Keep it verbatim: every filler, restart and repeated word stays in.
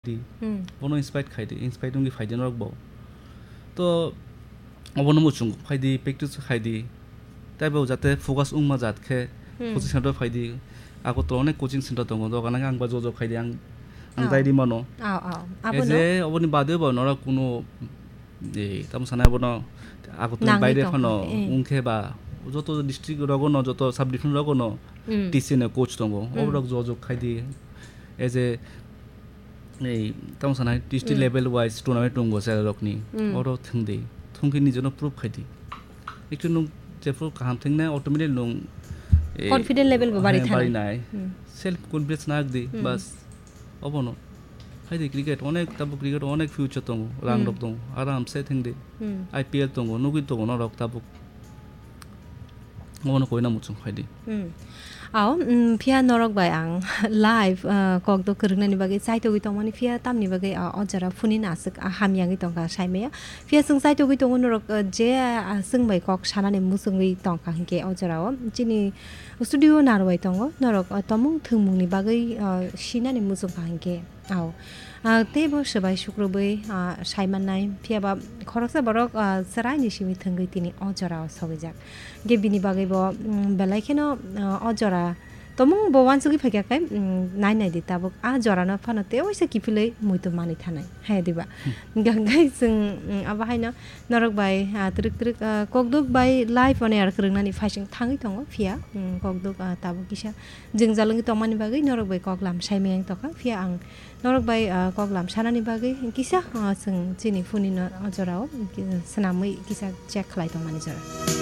di. Hmm. Bono inspire khai di, inspire wngwi phai di norok bo. To obono muchung phai di, practice khai di. Tei bo jate focus wngma jat khe Hmm. coaching center phai di. Agartala onek coaching center tongo, dogan ang ba jojok khai di, ang, ang Oh. dai di mano. Oh, oh. Abo E no? je oboni bade bo norok kuno, e, tamo sanai bono Agartala Nangwi baire tongkha, phano eh. wngkhe ba joto district rogo no, joto sub division rogo no Hmm. T C no coach tongo. Hmm. Oborok jojok khai di. E je Ei, tamo sanai, district Hmm. level wise tournament tongo cherairokni. Hmm. Oro thwng di. Thwng khe nijeno prove khai di. Actually, nwng jephru kaham thwng nai, automatic nwng, eh, Confident level bo bari eh, thanai. bari nai. Hmm. Self confidence nak di, Hmm. bas. Obono. Khai di cricket, onek, tabuk cricket onek future tongo, rang Hmm. rok tongo. Aram se thwng di. Hmm. I P L tongo, nugwi tongo norok tabuk. Obono koina muchung khai di. Hmm. Ao, mm, phiya norok bai ang live, ah, kok do kwrwngnani bagwi chaitogwi tongmani, phiya tamni bagwi, ah, o jora phunina aswk, ah, hamyangwi tongkha saimaya. Phiya chwng chaitogwi tongo norok, ah, je, ah, chwng bai kok sanani muchungwi tongkha hinkhe o jorao. Chini studio narwai tongo, norok, ah, tomung thwngmungni bagwi, ah, sinani muchungkha hinkhe. Ao. Ah, tei bo swbai sukrubwi, ah, saimannai. Phiya ba khoroksa borok, ah, chwraini simi thwngwi tini o jorao sogwijak. Ge bini bagwi bo, mm, belai kheno, ah, o jora tomung bo uansugwi phaikha khe, mm, nai nai di tabuk. Ah, jorano phano tei waisa kiphilwi muitu manwi thanai. Hai diba? Hmm. Ganggai chwng, mm, abo haino norok bai, ah, twrwk twrwk, ah, kokduk bai live on air kwrwngnani phaising thangwi tongo. Phiya, mm, kokduk, ah, tabuk kisa jwngjal wngwi tongmani bagwi norok bai koklam saimaya wng tongkha. Phiya ang Norok bai, ah, koklam sanani bagwi kisa, ah, chwng chini phunino o jorao ki-, swnamwi kisa check khlai tongmani jora.